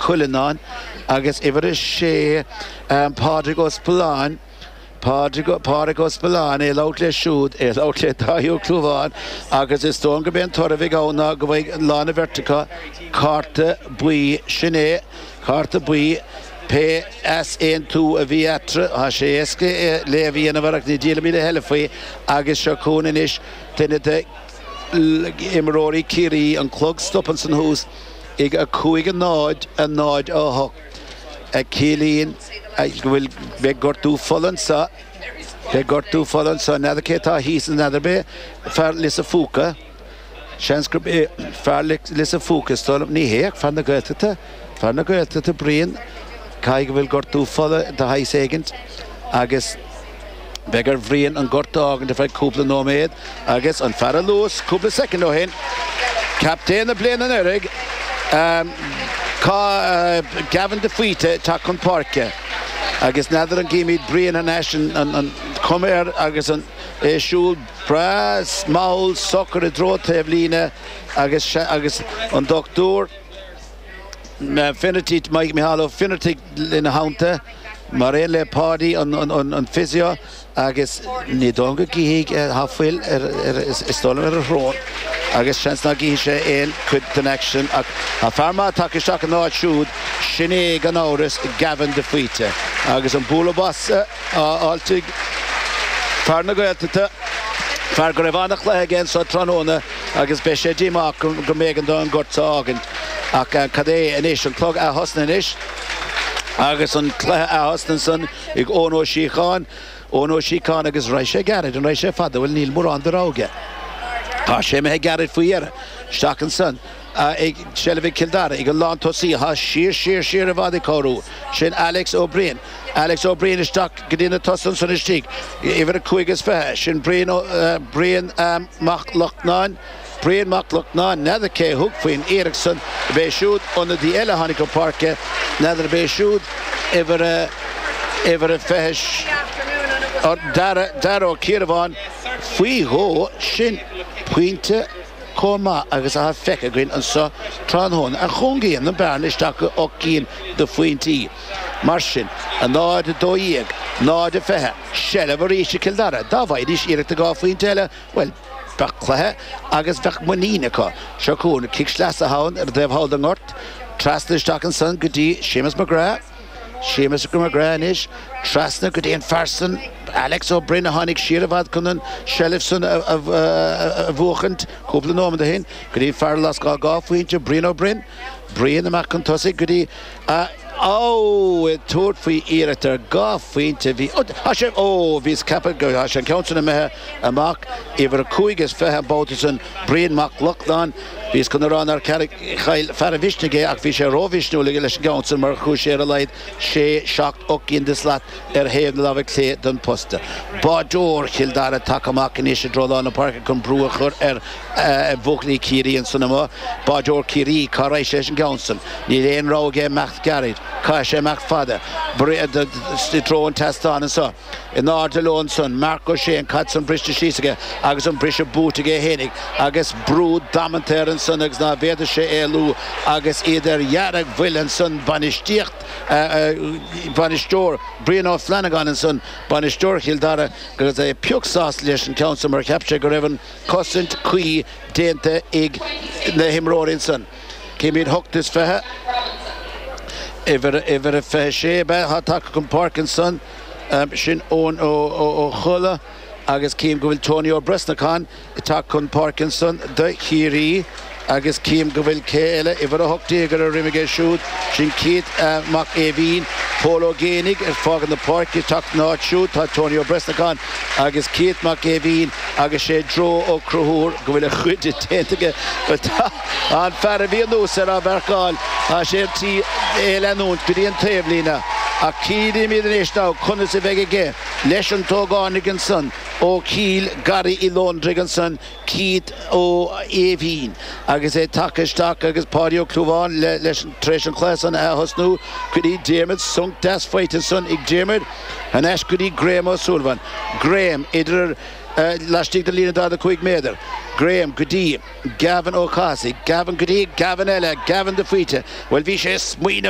Cuileannáin agus uimhir a 6 Pádraig Ó Spealáin, Pádraig, Pádraig Ó Spealáin, é ag labhairt leis siúd, é ag labhairt le Dáithí Ó Clúmháin agus is dóigh liom gurb é an toradh a bheidh ann ná go bhfaighidh lán an bheirt acu cárta buí. Sin é, cárta buí, pé easaontú a bhí eatarthu, tá sé éasca léamh a dhéanamh air ach ní díolfaimid a thuilleadh faoi agus seo chugainn anois duine de imreoirí Chiarraí, an clog stop ansan thuas ag 5 0 0 8 a ciallaíonn go bhfuil, beidh gortú fola anso, beidh gortú fola anso, n'fheadar cé atá thíos, n'fheadar ab é fear Lios a' Phúca, seans gurb é fear Lios a' Phúca, is dóigh liom, ní hé ach fear na Gaeltachta, fear na Gaeltachta, Brian, caithfidh go bhfuil gortú fola de shaghas éigint agus. Beidh ar Bhrian an gort a fhágaint ar feadh cúpla nóiméad agus an fear a luas cúpla soicind ó shin, captaen na bliana anuraidh, Gavin de Faoite, ag teacht chun páirce agus n'fheadar an gcímid Brian thar n-ais, an chuma air agus é ag siúl breá mall socair i dtreo taobh líne agus agus an Dr. Finnerty, Micheál Ó Finneartaigh ina theannta, mar aon le Páidí an physio agus ní dóigh liom go gcífidh, tá fuil ar, is dóigh liom ar a shrón agus seans nach gcífidh sé aon chuid den aicsean ach tá fear maith tagtha isteach ina áit siúd, sin é gan amhras Gavin de Faoite agus an bualadh bos á fháilt ag fear na Gaeltachta, fear go raibh an-chluiche aige anso tráthnóna. Agus beidh sé díomách go mb'éigean dó an gort seo a fhágaint. Ach cad é anois? An clog ath-thosnaithe anois agus an cluiche ath-thosnaithe ansan ag Eoin Ó Síocháin. Eoin Ó Síocháin agus raghaidh sé gairid, an raghaidh sé fada? Bhuel níl mórán de rogha aige. Tá sé imithe gairid faoi dheireadh. Isteach ansan ag seilbh ag Cill Dara, ag an lántosaí atá siar, siar, siar i bhfad ag cabhrú. Sin Alex Ó Briain. Alex Ó Briain isteach go dtí na tosaithe ansan istigh. Uimhir a 25 is, sin Brian Ó, Brian Mac Lochnáin. Brian Mac Lochnáin, n'fheadar cé thug faoin iarracht san, ab é siúd ionadaí eile a tháinig chun páirce, n'fheadar ab é siúd uimhir a, uimhir a 20, Dara, Dara Ó Ciarabháin, faoi dhó, sin pointe chomh maith agus atá feicthe againn anso tráthnóna, a chúngaíonn an bearna isteach go 8 gcinn de phointí. Mar sin, 0, 12, 0, 20, seilbh arís ag Cill Dara. Dá bhfaighidís iarracht ar dhá phointe eile, bhuel, bheadh cluiche agus bheadh muinín acu. Seo chugainn cic sleasa ann ar an dtaobh thall den ngort, trasna isteach ansan go dtí Séamus McGrath. Séamus McGrath anois, trasna go dtí an fear san, Alex Ó Broin a tháinig siar i bhfad chun an tseilbh san a bhuachaint cúpla nóiméad ó shin, go dtí fear a lasc dhá phointe, Brian Ó Broin. Brian amach chun tosaigh go dtí Ó! Ag tabhairt faoi iarracht ar dhá phointe bhí, ó, tá sé, ó, bhíos ag ceapadh go, tá sé an ceann san imithe amach, uimhir a 25 an babhta san, Brian Mac Lochlainn, bhíos chun a rá nár chaill fear a mhisnigh é ach bhí sé rómhisniúil aige leis an gceann san mar chuaigh sé ar a laghad sé, seacht, 8 gcinn de shlat ar thaobh na láimhe clé den phosta. Báideoir Chill Dara tagtha amach anois i dtreo lár na páirce chun brú a chur ar bhuachaillí Chiarraí ansan amuigh. Báideoir Chiarraí, cá raghaidh sé leis an gceann san? Níl aon rogha aige imeacht gairid. Caithfidh sé imeacht fada. I dtreo an tseastáin anso. In airde leo ansan. Marc Ó Sé, an caid san briste síos aige agus an briseadh buaite aige fhéinig agus brú damanta air ansan agus ná bhféadfadh sé éalú agus iad ar dheargbhuile ansan. Bainistíocht, bainisteoir Brian Ó Flannagáin ansan, bainisteoir Chill Dara agus é pioc sásta leis an ceann san mar cheap sé go raibh an cosaint cuí déanta ag na himreoirí ansan. Címid 8 is 20, uimhir, uimhir a 26 ab ea atá tagtha chun páirce ansan, sin Eoin Ó Colla agus cím go bhfuil Tony Ó Brosnacháin ag teacht chun páirce ansan do Chiarraí agus cím go bhfuil cé eile, uimhir 18 ar a dhroim aige siúd, sin Keith Mac Aoibhín, Pól Ó Géibheannaigh ag fágaint na páirce ag teacht ina áit siúd tá Tony Ó Brosnacháin agus Keith Mac Aoibhín agus sé Joe Ó Conchúir go bhfuil a chuid déanta aige. Bhuel tá an fear a bhí anuas air á mharcáil, tá sé ar tí é a leanúint go dtí an taobhlíne ach cífimid anois now conas a bheidh aige leis an t-ógánaigh ansan ó Chill Garraí Uí Lóndraigh ansan, Keith Ó Aoibhín agus é tagtha isteach agus Páidí Ó Clúmháin leis tar éis an cluiche san a thosnú go dtí Diarmuid, sonc deas faighte ansan ag Diarmuid. Thar n-ais go dtí Graham Ó Súilleabháin. Graham idir laistigh den líne 45 méadar. Graham go dtí Gavin Ó Cathasaigh. Gavin go dtí Gavin eile. Gavin de Faoite. Bhuel bhí sé ag smaoineamh.